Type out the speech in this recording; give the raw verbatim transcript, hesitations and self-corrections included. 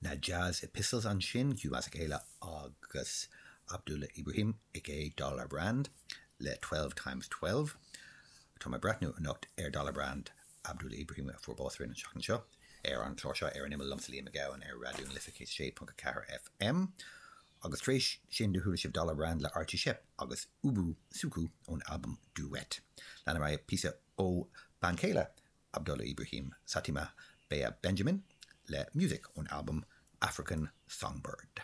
Na Jazz Epistles ansin, Hugh Masekela agus Abdullah Ibrahim aka Dollar Brand le twelve times twelve. Tá mé ag breathnú anocht ar Dollar Brand, Abdullah Ibrahim a fuair bás an tseachtain seo, ar an chlár seo ar an Imeall liomsa Liam Mac Gabhann ar Raidió na Life céad sé ponc ceathair F M. Agus tar éis sin do chuala sibh Dollar Brand le Archie Shepp agus Ubu Suku ón albam Duet. Leanfaidh mé píosa ó bean chéile Abdullah Ibrahim, Satimah Bea Benjamin, le Music ón albam African Songbird.